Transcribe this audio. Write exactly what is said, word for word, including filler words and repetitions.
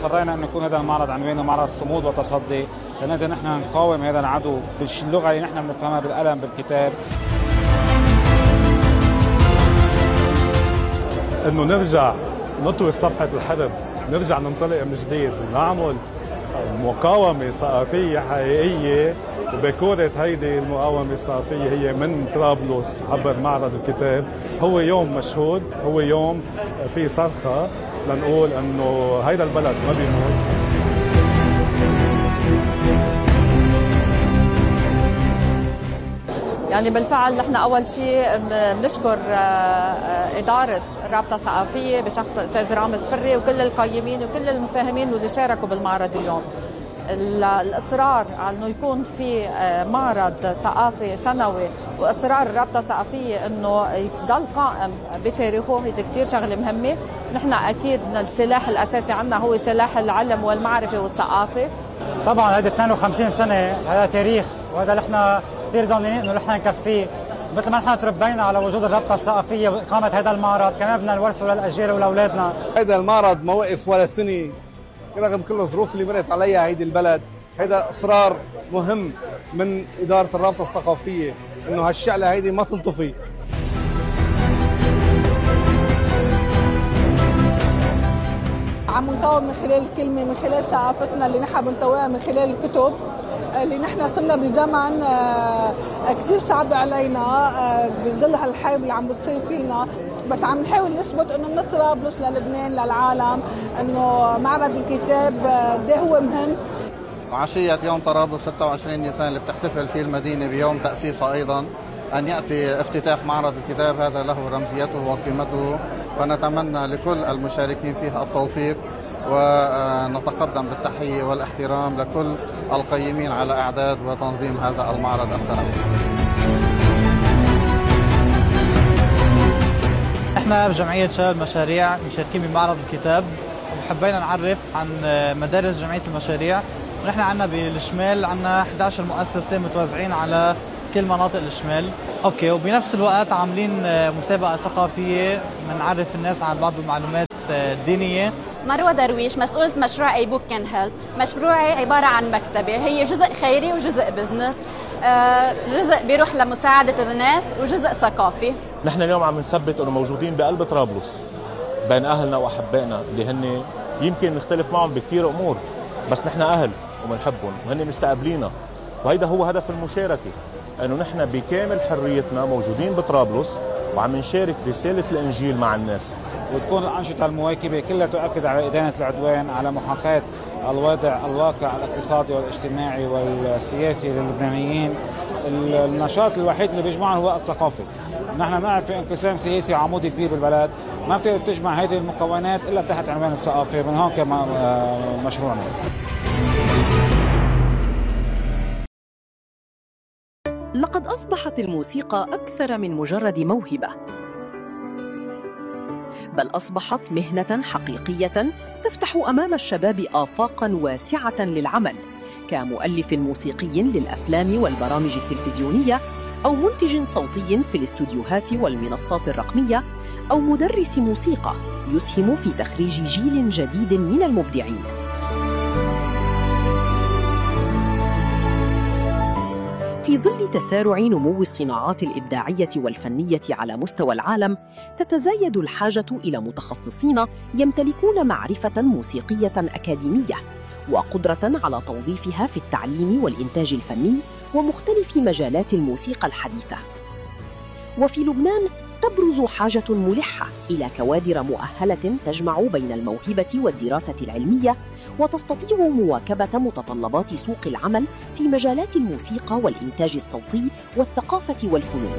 أصرينا أن يكون هذا المعرض عنوانه معرض صمود وتصدي، لنقدر نحن نقاوم هذا العدو باللغة اللي نحن بنفهمها، بالقلم، بالكتاب. إنه نرجع نطوي صفحة الحرب، نرجع ننطلق من جديد ونعمل مقاومة ثقافية حقيقية، وبكورة هيدي المقاومة الثقافية هي من طرابلس عبر معرض الكتاب. هو يوم مشهود، هو يوم في صرخة لنقول انه هيدا البلد ما بيموت. يعني بالفعل نحن أول شيء بنشكر إدارة الرابطة الثقافية بشخص الأستاذ رامز فري وكل القيمين وكل المساهمين واللي شاركوا بالمعرض اليوم. الإصرار على أنه يكون في معرض ثقافي سنوي وإصرار الرابطة الثقافية أنه يضل قائم بتاريخه هي كتير شغلة مهمة. نحن أكيد السلاح الأساسي عندنا هو سلاح العلم والمعرفة والثقافة. طبعا هذا اثنين وخمسين سنة هذا تاريخ، وهذا نحن كثير ضامنين انه نحن نكفيه. مثل ما نحن تربينا على وجود الرابطة الثقافية وإقامة هذا المعرض، كمان بدنا نورثه للأجيال ولأولادنا. هذا المعرض ما وقف ولا سنة رغم كل الظروف اللي مرت عليها هيدي البلد. هذا إصرار مهم من إدارة الرابطة الثقافية إنه هالشعلة هيدي ما تنطفي. عم نطور من خلال الكلمة، من خلال ثقافتنا اللي نحن بنطورها من خلال الكتب اللي نحن صرنا بزمن كثير صعب علينا بظل هالحرب اللي عم بتصير فينا، بس عم نحاول نثبت انه من طرابلس للبنان للعالم انه معرض الكتاب ده هو مهم. عشية يوم طرابلس ستة وعشرين نيسان اللي بتحتفل فيه المدينة بيوم تأسيسها أيضا، أن يأتي افتتاح معرض الكتاب هذا له رمزيته وقيمته، فنتمنى لكل المشاركين فيها التوفيق، ونتقدم بالتحية والاحترام لكل القيمين على إعداد وتنظيم هذا المعرض السنوي. احنا بجمعية شباب المشاريع مشاركين بمعرض الكتاب، وحبينا نعرف عن مدارس جمعية المشاريع. ونحن عنا بالشمال عنا إحدى عشرة مؤسسة متوزعين على كل مناطق الشمال. اوكي، وبنفس الوقت عاملين مسابقة ثقافية بنعرف الناس عن بعض المعلومات الدينية. مروة درويش، مسؤولة مشروع اي بوك كان هيلب. مشروعي عبارة عن مكتبة، هي جزء خيري وجزء بزنس، جزء بيروح لمساعدة الناس وجزء ثقافي. نحن اليوم عم نثبت انه موجودين بقلب طرابلس بين اهلنا واحبائنا اللي هن يمكن نختلف معهم بكثير امور، بس نحن اهل وبنحبهم وهن مستقبلينا، وهيدا هو هدف المشاركة، انه نحن بكامل حريتنا موجودين بطرابلس وعم نشارك رسالة الانجيل مع الناس. وتكون الأنشطة المواكبة كلها تؤكد على إدانة العدوان، على محاكاة الوضع الواقع الاقتصادي والاجتماعي والسياسي للبنانيين. النشاط الوحيد اللي بيجمعنا هو الثقافي. نحن بنعرف في انقسام سياسي عمودي كبير بالبلد، ما بتقدر تجمع هذه المكونات إلا تحت عنوان الثقافة، من هون كمان مشروعنا. لقد أصبحت الموسيقى أكثر من مجرد موهبة، بل أصبحت مهنة حقيقية تفتح أمام الشباب آفاقاً واسعة للعمل، كمؤلف موسيقي للأفلام والبرامج التلفزيونية، أو منتج صوتي في الاستوديوهات والمنصات الرقمية، أو مدرس موسيقى يسهم في تخريج جيل جديد من المبدعين. في ظل تسارع نمو الصناعات الإبداعية والفنية على مستوى العالم، تتزايد الحاجة إلى متخصصين يمتلكون معرفة موسيقية أكاديمية وقدرة على توظيفها في التعليم والإنتاج الفني ومختلف مجالات الموسيقى الحديثة. وفي لبنان تبرز حاجة ملحة إلى كوادر مؤهلة تجمع بين الموهبة والدراسة العلمية، وتستطيع مواكبة متطلبات سوق العمل في مجالات الموسيقى والإنتاج الصوتي والثقافة والفنون.